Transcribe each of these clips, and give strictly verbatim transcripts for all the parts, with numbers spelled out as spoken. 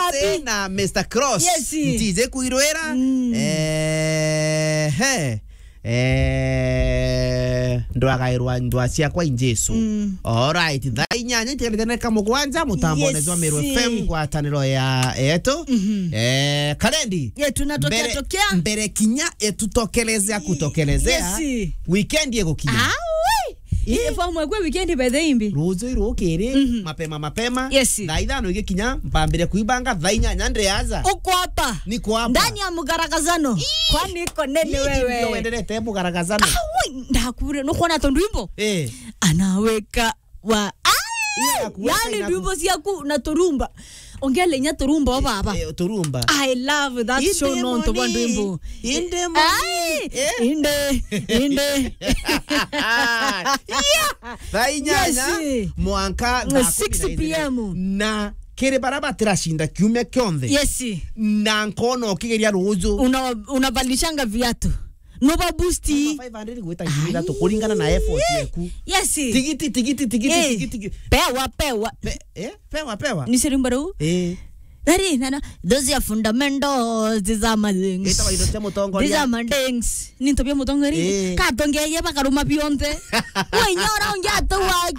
Happy. Na Mister Cross. Yes. D J Kuirwira. Mm. Eh, he. Eh, ndwagairwa ndwa ciakwa i Jesu. Mm. All right, thaa inyanya itigarite ndagika mugwanja, mutambone Yes. Jwa Meru F M, ngwataniro ya yetu. Mhm. Eh, Karendi. Ye, tunatokea mbere, tokea. Mbere kinya etutokelezea kutokelezea. Yes. Weekend igukinya. Ah, ui. Ii. Ii, fomu ekwe weekend by the imbi. Ruju irukiri, Mhm. mapema mapema. Yes. Thaa ithano igikinya, mpambire kuibanga, thaa inyanya ndi aja. Uko hapa. Niko hapa. Ndani ya mugaragazano. Ii. Kwani iko nini wewe? Ndio wendelete mugaragazano. Ah, ui, ndakure, nukwona tondu imbo? Eh. Anaweka wa, ah! Ii, akuweka yani inaku- ndwimbo ciaku na turumba. Ongele inya turumba o baba. Eh, turumba. I love that show nontu bwa ndwimbo. Inde moni. Ai, eh? Inde, inde. Yeah. Thaa inyanya, yes, mwanka thaa six P M. Na kiri bara batiracinda kiumia kionthe. Yes. Na nkona ukigeria ruju. Una-, unavalishanga viatu. No ba boost. Kuma five hundred gwita ngiri ithatu kuringana na effort yaku. Yes. Tigiti, tigiti, tigiti, eh, tigiti, tigiti. Pewa, pewa. Pe-, eh? Pewa, pewa. Ni sirimba ruu? Eh. Nari, nana, those are fundamentals, these are my things. Ita wa indo cia mutongoria. These are my things. Ni into bia mutongoria. Eh. Katongeye bakaruma bionthe. Wenya ora ungi atu wa,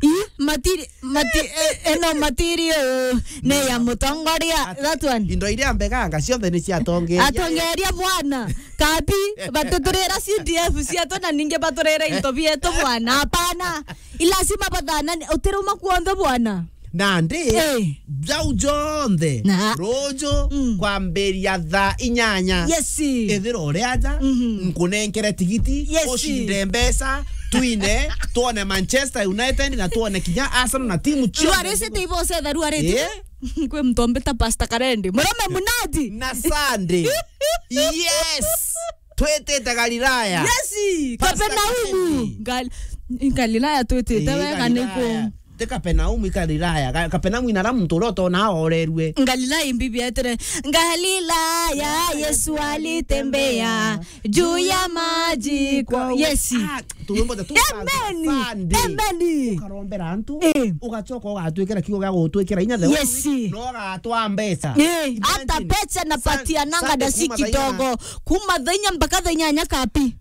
i, matiri, Mati-, eh, eno material ni ya mutongoria, that one. Indo iria mbeganga cionthe ni cia atongeria. Atongeria bwana. Kabi, batuturira C D F cietu na ningi baturira into bietu bwana. Hapana. Ilazima bathana, utiruma kuonthe bwana. Nandi, eh, jau jonthe, na ruju, mm, kwambiria thaa inyanya. Yes. Ithira uri aja, mhm, nkunenkere tigiti, yes, ucinde mbeca, twine, twone Manchester United na twone kinya Arsenal na timu cionthe. Rwaricite iboce tharu ariti. Eh? Kwi muntu ombita Pastor Karendi. Murume munati. Na Sunday. Yes. Twitite Galilaya. Yes. Pastor Kapenaumu. Karendi. Gal-, Galilaya twitite. Eh, wega Galilaya. Niku. Ti Kapenaumu, i Galilaya. Ga-, Kapenaumu ina ra muntu uria utona orerue. Galilaya imbibi etere. Galilaya, Yesu alitembea juu ya maji kwa, yes. Ah, tuwimbo tu. Amen. Sunday. Amen. Ukarombera antu, eh, ugacoka ugatwikira kiugo gia gutwikira inya the, yes, whole week, no ugatwa mbeca. Eh, imagine, hata pesa napatiananga Sun-, Sunday na si kuma thaa inya kidogo. Kuma thaa inya mpaka thaa inyanya kapi.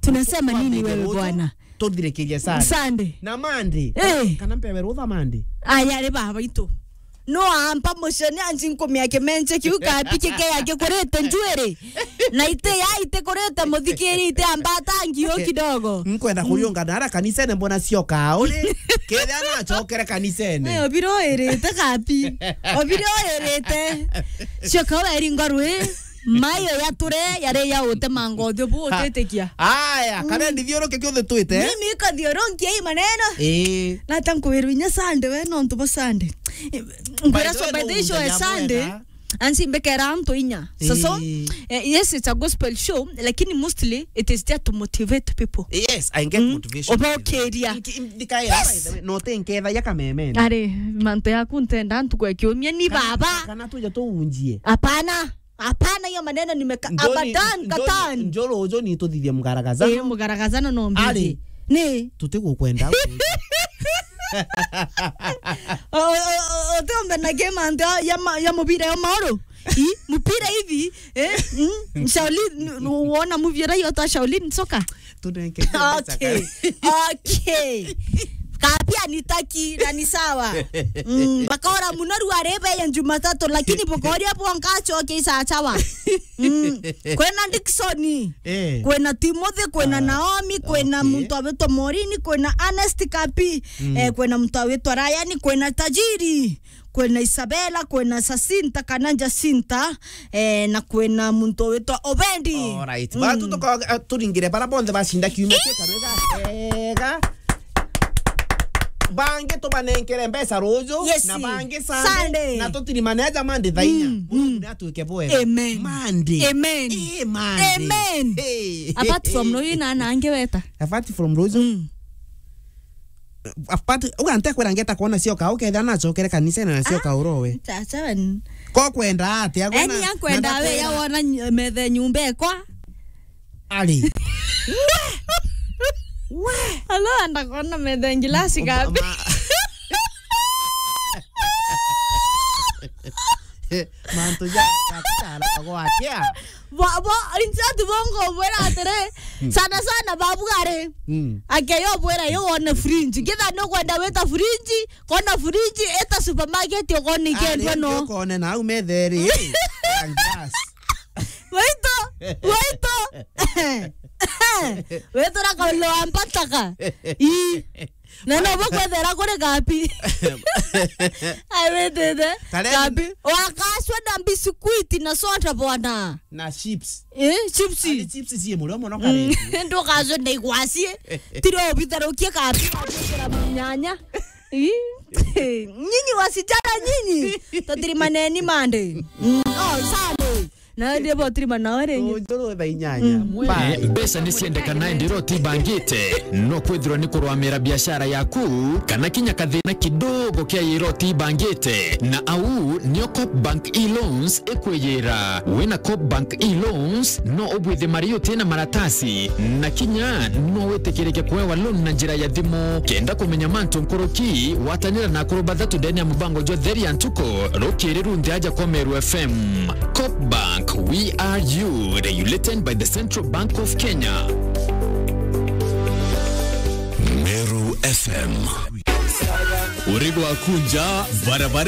Tunasema nini wewe bwana? Tuthirikirie Sunday. Sunday. Na Monday. Eh. Kana mpewe rutha Monday. Aya ri baba itu. No ampa mucene anji nkumia kimenche kiu kapi kike yake kurite njuiri. Na ite ya ite kurite muthikiri ite ambata ngio kidogo. Nkwenda, mm, kuriungana ara kanisene mbona cio kauri. Kethia na acokere kanisene. Eh, obiro irite kapi. Obiro irite. Cio kawe ringo rwi. Mayo ya ture yari ya utemanga uthio bu utitikia. Aya, mm, kana ndithiuruke kiuthi twite. Mimi ikathiurunkia hii maneno. Eh. Na ta nkwirwa inya Sunday we nontu bo Sunday. Nkwira so by the way, by the way, show ya Sunday. Ansi mbekera antu inya. So, so, eh, yes, it's a gospel show, lakini mostly it is there to motivate people. Yes, I get, mm, motivation. Obokeria. Nki-, ndikaira, yes, by the way, no te nketha ya kameme. Are, mantu yaku ntenda ntuku ya kiumia ni kana, baba. Kana tuja tuunjie. Hapana. Hapana, hiyo maneno nimeka-, abadan, katan. Njoro ujo ni tuthithie mugaragazano. Eh, mugaragazano no mbithi. Ari. Ni. Tutigukwenda. O, o, o, utombe na game ante ya ma-, ya mubira ya maoro. I, mupira hivi, eh? Mm? Shaolin, n-, n-, wona movie ira yota Shaolin soccer? Tunenge. Okay. Okay. Kapia nitaki na ni sawa. Mm, bakora muno ruare be ya Jumatatu, lakini bukoria bwonka acoke isachawa. Mm. Kwina Dickson, eh, kwina Timothy, kwina, ah, Naomi, kwina, okay, muntu awitwa Morini, kwina Ernest Kapi, mm, eh, kwina muntu awitwa Ryan, kwina Tajiri, kwina Isabella, kwina Jacinta kana Jacinta, eh, na kwina muntu witwa Obendi. Alright. Mm. Batu tuko, eh, turingire bara bonthe bacinda kiumia kia karwega. Ega. Bangi tubanenkere mbeca ruju, yes, na bangi Sunday, Sunday, na tutiri maneja Monday thaa inya. Mm, Mungu, mm, ni atuike bwega. Amen. Monday. Amen. Eh, Monday. Amen. Hey. Apart from ruju na nange weta. Apart from ruju. Mm. Apart, uga ntekwira ngeta kwona cio ka, ukethira nacokere kanisene na cio ka urowe. Chacha wen. Ko kwenda atia? Eni akwenda we ya wona ny-, methe nyumba ekwa. Ari. We. Alo, anda kwona methe ngilasi gapi? Ma- Mantu ja, ja, ja, gwakia. Bo, bo, inse ati bongo bwira atiri, sana sana babu ari. Mm. Akeyo bwira yo one fridge. Ngitha no kwenda wita fridge, kona fridge, eta supermarket, ukona ikendwa no. Ukone na au metheri. Glass. Waito, waito. Waito na kaulo ampataka. Ii. Na no bo kwethera kuri gapi. Ai, witite. Gapi. Wakacwa na biscuit na soda bwana. Na chips. Eh, chips. Ani chips cie murio muno kare. Ndukacwe na igwacie. Tiro bitharukie gapi. Nyanya. Ii. Nyinyi wasichana nyinyi. Tatiri maneni mande. Mm. Oh, sande. Na ndi botiri manawe ringi. Ujuru thaa inyanya. Mm. Mbeca ni ciendekana indi iroti ibangite, no kwithirwa ni kurwamira biashara yaku, kana kinya kathina kidogo kia iroti ibangite. Na au nio Coop Bank e-loans ikwiyira. Wina Coop Bank e-loans, no ubwithe mari utina maratasi, na kinya no witikirike kuewa loan na njira ya thimu. Kenda kumenya mantu nkuruki, watanira na akuru bathatu ndene ya mubango jwa Theri ya Ntuku, rukiri runthe aja kwa Meru F M. Coop Bank, we are you, regulated by the Central Bank of Kenya. Meru F M. Uri gwaku nja, barabara